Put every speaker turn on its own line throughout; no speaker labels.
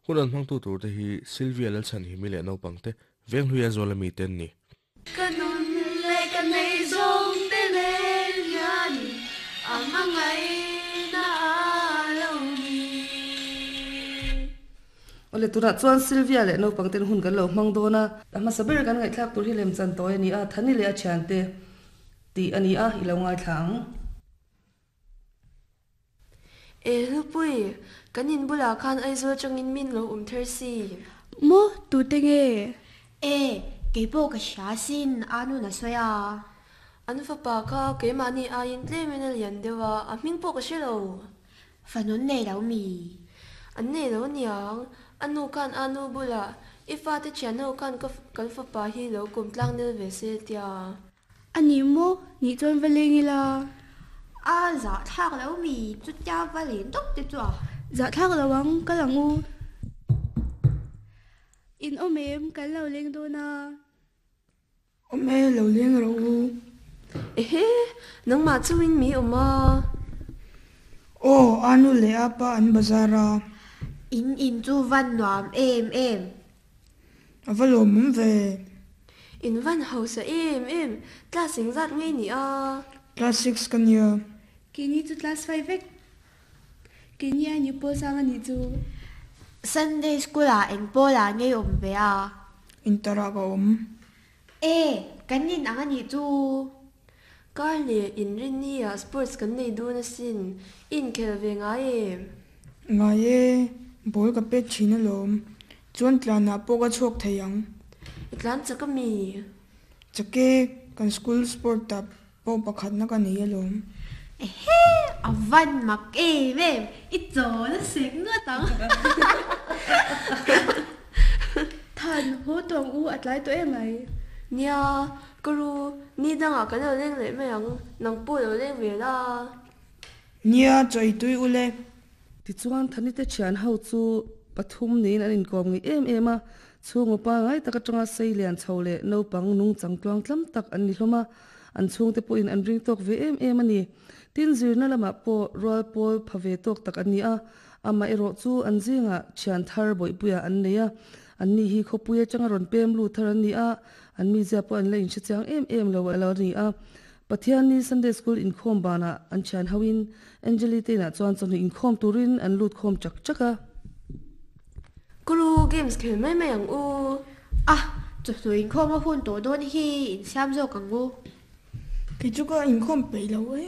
Hun an hmangtu turte hi Sylvia Lalchhanhimi leh naupangte Venghluia zuala mite an ni.
Ka nun leh ka nei zawng te nen hian a hmangaihna a lo ni.
Awle tunah chuan Sylvia leh naupang ten hun kan lo hmang dawn a, a hmasa ber kan ngaihthlak tur hi lemchan tawi a ni a, Thani leh a thiante tih a ni a, i lo ngaithla ang.
E Hlupui, kan in bulah khan Aizawl atangin min lo awm ther si.
Maw, tute nge?
E, keipawh ka hria asin, Anun a sawi a.
An fapa kha keimahni aiin tlemin a lian deuh a, a hming pawh ka hre lo.
Fanun nei lo mi?
An nei lo niang, a nu khan Anu bulah, I fate thianho khan ka kan fapa hi lo kum tlang nel ve se tia.
A ni maw? Nih chuan va leng ila.
A zahthlak lo mi? Chutia va len tawp te chu a.
Zahthlak lo ang, kal ang u. In awm em? Kan lo leng dawn a.
Awm e, lo leng rawh u.
Ehe, nangmah chungin mi awm a.
Aw, a nu leh a pa an bazar a.
In in chu van nuam em em.
A va lawmawm ve.
In van hausa em em, class engzat ngei ni a?
Class six ka nia.
Keini chu class five vek. Keini a ni pawl sang a nih chu.
Sunday school ah eng pawl ah ngei awm ve a?
Inter ah ka awm.
E, kan in ang a nih chu.
Kar leh inrinni ah sports kan nei dun asin, i inkhel ve ngai em?
Ngai e, ball ka pet thin alawm. Chuan tlanah pawh ka chhuak thei ang.
I tlan chak a mi?
Chak e, kan school sport ah pawh pakhatna ka nei alawm.
Ehe, a van mak em em, i chawl a sek ngawt ang.
Than, haw tawng u a tlai tawh em ai?
Nia, ka ru, ni dangah kan lo leng leh mai ang, nang pawh lo leng ve la.
Nia, chaw ei tui u le.
Tichuan, Thanite thian ho chu pathum niin an inkawm ngei em em a, chhungaw pangai tak atanga sei lian chho leh naupang nungchang tluang tlam tak an ni hlawm a, an chhungte pawhin an ring tawk ve em em a ni. Tin, zirna lamah pawh rual pawl pha ve tawk tak an ni a, amaherawh chu an zingah thian thar bawihpuiah an nei a, anni hi khawpui atanga rawn pem lut thar an ni a, an mizia pawh an la inhre chiang em em lo a lo ni a. Pathianni Sunday School inkhawm banah an thian hoin Angeli te inah chuan chawhnu inkhawm turin an lut khawm chak chak a.
Kuru games khel mai mai ang u.
A, chawhnu inkhawm a hun tawh dawn hi insiam zawk ang u.
Kei chu ka inkhawm peih lo e,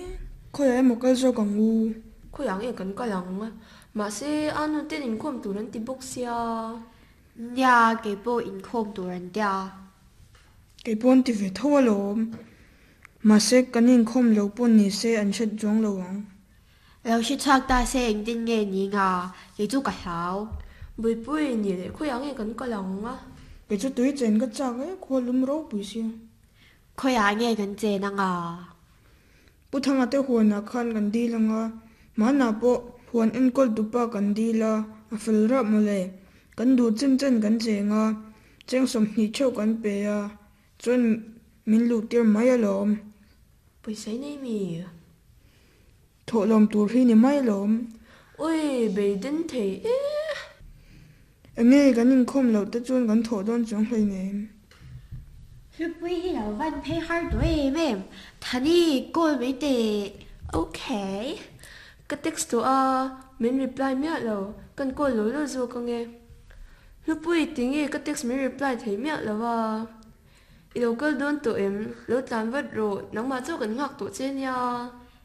khawiah emaw kal zawk ang u.
Khawiah nge kan kal ang? Mahse, a nu ten inkhawm tur an ti bawk sia.
Nia, kei pawh inkhawm tur an tia.
Kei pawh an ti ve tho alawm. Mahse, kan inkhawm lo pawh ni se an hret zawng lo ang.
Lo hre chhuak ta se engtin nge ni nga, kei chu ka hlau.
Buipui ni leh khawiah nge kan kal ang a?
Kei chu tui chen ka chak e, khua lum ropui sia.
Khawiah nge kan chen anga?
Pu Thanga te huanah khan kan dil ang a, hmanah pawh huan enkawl tupa kan dil a, a fel rap mawle. Kan duh chen chen kan cheng a, cheng 20 theuh kan pe a, chuan min luh tir mai alawm.
Pawisa i nei mi?
Thawhlawm tur hi ni mai alawm.
Ui, beiden thei e.
Enge kan inkhawm loh te chuan kan thawh dawn chuang hleinem.
Hlupui hi lo van phei har tawh em em, Thani call mai teh.
Ok. Ka text tawh a, min reply miah lo, kan call lo lo zawk ange. Hlupui tinge ka text min reply thei miah lo a. I lo kal dawn tawh em? Lo tlan vat rawh, nangmah chu kan nghak tawh che nia.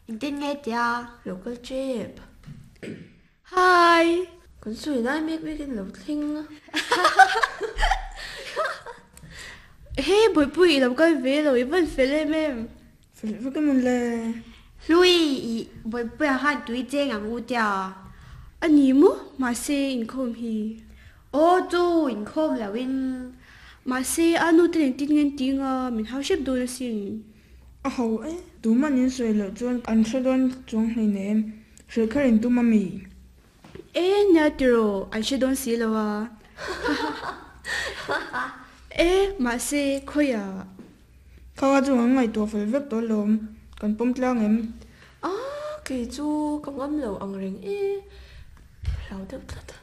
Engtin nge tia?
Lo kal tep.
Hi!
Kan sawi lai mek mek in lo thleng a.
He Bawihpui i lo kal ve lo i van fel em em.
Fel vek em le.
Hlui i Bawihpuia khan tui cheng ang u tia.
A ni maw? Mahse inkhawm hi.
Aw chu inkhawm lo in.
Mahse a nu te nen tin ngen ting a min hau hrep dawn asin.
A ho e, tuman in sawi loh chuan an hre dawn chuang hleinem, hrilh kher in tum a mi?
E, nia tiraw, an hre dawn si lo a. E, mahse, khawiah?
Kha kha chu an ngaihtuah fel vek tawh alawm, kan pawm tlang em?
A, kei chu ka ngam lo ang reng e, hlau deuh tlat a.